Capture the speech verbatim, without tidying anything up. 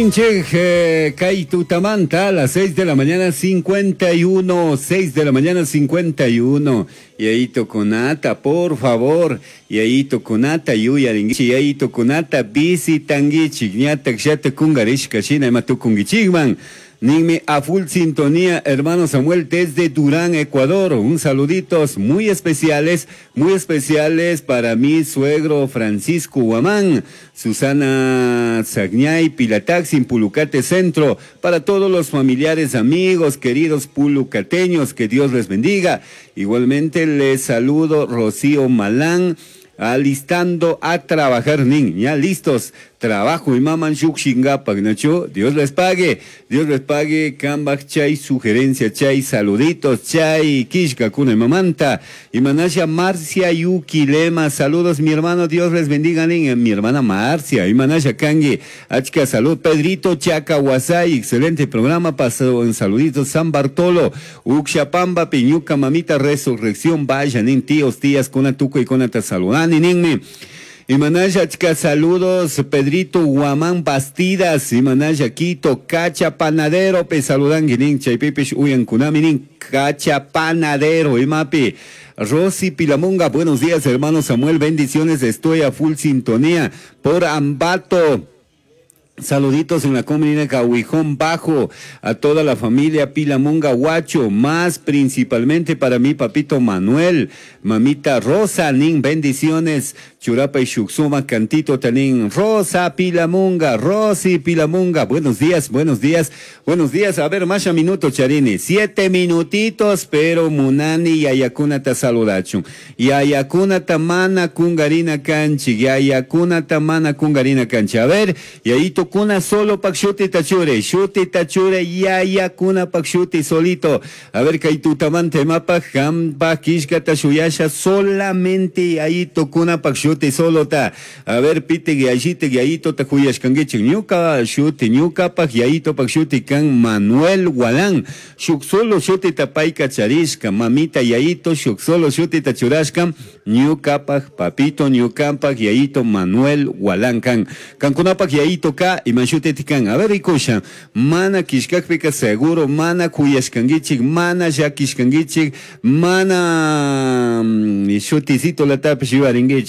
Che, kay tutamanta a las seis de la mañana cincuenta y uno, seis de la mañana cincuenta y uno. Yayitukunata, por favor, yayitukunata yuyaringuichik, yayitukunata visitanguichik, ñatak llata kungarishka shina ima tukunguichikman. Ninmi a full sintonía, hermano Samuel, desde Durán, Ecuador. Un saluditos muy especiales, muy especiales para mi suegro Francisco Guamán, Susana Sagñay, Pilataxin, Pulucate Centro, para todos los familiares, amigos, queridos pulucateños, que Dios les bendiga. Igualmente les saludo Rocío Malán, alistando a trabajar, nin, ya listos, trabajo y maman shukshingapak, nacho, Dios les pague, Dios les pague, kambak chay sugerencia, chay saluditos, chay kishka kuna mamanta, y manasha Marcia Yuki Lema, saludos mi hermano, Dios les bendiga, nin, mi hermana Marcia, y manasha kangi, achka salud, Pedrito Chaca Huasay, excelente programa, pasó en saluditos, San Bartolo, Uxapamba, Piñuca, mamita, resurrección, vaya, nin, tíos, tías, kuna tuco y kuna ta saludani, ninmi. Imanaya achka saludos, Pedrito Guamán Bastidas, Imanaya Quito, Cacha Panadero, pe saludan nin, chaypipish uyan kunami nin, Cacha Panadero, imapi. Rosy Pilamunga, buenos días, hermano Samuel, bendiciones, estoy a full sintonía por Ambato. Saluditos en la comunidad de Cahuijón Bajo, a toda la familia Pilamunga Huacho, más principalmente para mi papito Manuel, mamita Rosa, nin, bendiciones, Churapa y Shuxuma, cantito tanin, Rosa Pilamunga, Rosy Pilamunga, buenos días, buenos días, buenos días, a ver, más minuto, Charini, siete minutitos, pero munani yayakunata saludachun, yayakunata mana kungarina kanchi, yayakunata mana kungarina kanchi, a ver, yayito kuna solo pak shuti tachure, shuti tachure, yaya kuna pak shuti solito. A ver, kay tutamanta imapak, kampa kishkata shuyasha solamente yayito kuna pak shuti solota. A ver, pite yayite yayito ta huyashkanguichik, ñuka shuti, ñuka pak yayito pak shuti kan Manuel Gualán. Shuk solo shuti tapayka charishka, mamita yayito, shuk solo shuti tachurashka, ñuka pak papito, ñuka pak yayito Manuel Gualán kan. Kankunapak yayito ka, imashuti kan. A ver, rikusha, mana kishkakpika seguro, mana kuyashkanguichik, mana llakishkanguichik, mana mm, shuticito latapish yuyaringuichik.